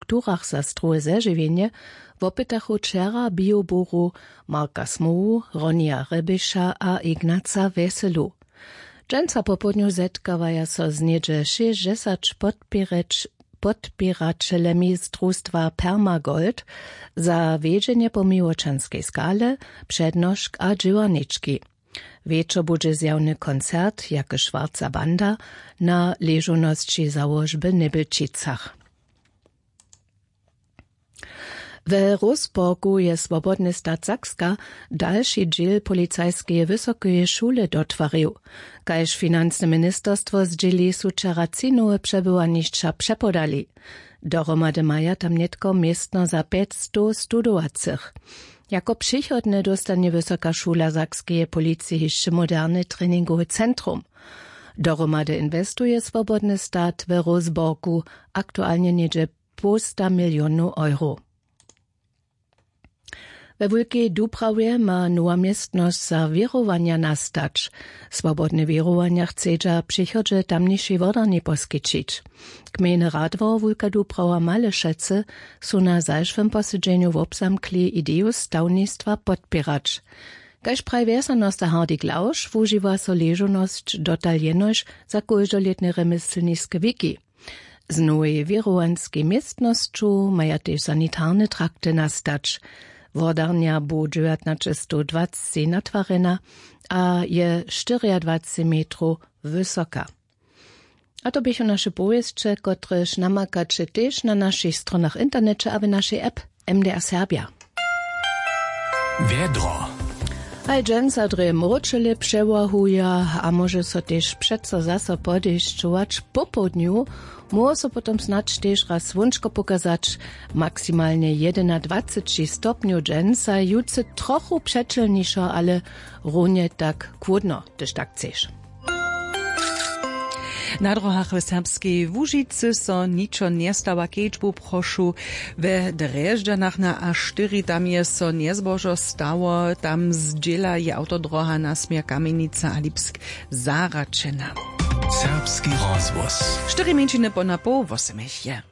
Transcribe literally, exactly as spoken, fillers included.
strukturach za strowe zežiwjenje wopytachu wčera bioburow Marka Smołu, Ronija Rebiša a Ignaca Wjeselu. Dźensa popołdnju zetkawaja so z něhdźe šěsćdźesać podpěrać podpěraćelemi z družstwa Permagold za wjedźenje po miłočanskej skale, přednošk a dźěłarnički. Wječor budźe zjawny koncert Jake Schwarza Banda na ležownosći załožby w Njebjelčicach. We Rosborgu je Swobodny stat Sakska dalši dźěl policajskeje wysokeje šule dotwarił. Kaž financne ministerstwo zdźěli, su wčera tři nowe přebywanišća přepodali. Dohromady maja tam nětko městno za pjećstow studowacych. Jako přichodne dóstanje Wysoka šula sakskeje policije hišće moderne treningowe centrum. Dohromady inwestuje Swobodny stat we Rosborgu aktualnje něhdźe połsta milionow euro. We Wulkej Dubrawje ma nowa městnosć za wěrowanja nastać. Swobodne wěrowanja chcedźa w přichodźe tamnišej wodarnje poskićić. Gmejny radwor Wulka Dubrawa Malešecy su na zašłym posedźenju wobzamkli ideju stawnistwa podpěrać. Kaž praji wjesanosta Hardy Klausch, wužiwa so ležownosć dotal jenož za kóždolětne rjemjeslniske wiki. Z nowej wěrowanskej městnosću maja tež sanitarne trakty nastać. Wodarnja bu dźewjatnaćestowdwaceći natwarjena a je štyriadwaceći metrow wysoka. A to běchu naše powěsće, kotrež namakaće tež na našich stronach w interneće a w našej app M D R Serbja. Wjedro. Haj, dźensa drje mróčele přewahuja a móže so tež přeco zaso podešćować. Popołdnju móhło so potom snadź tež raz słónčko pokazać. Maksimalnje jedynadwaceći stopnjow dźensa, jutře trochu přećelnišo, ale runje tak chłódno, hdyž tak chceš. Na dróhach w Serbskej Łužicy so ničo njestawa, kedźbu prošu. We Drježdźanach na A štyri, tam je so njezbožo stało, tam zdźěla je awtodróha na směr Kamjenica a Lipsk zahraćena. Serbski rozhłos. Štyri mjeńšiny po na poł wosomich je.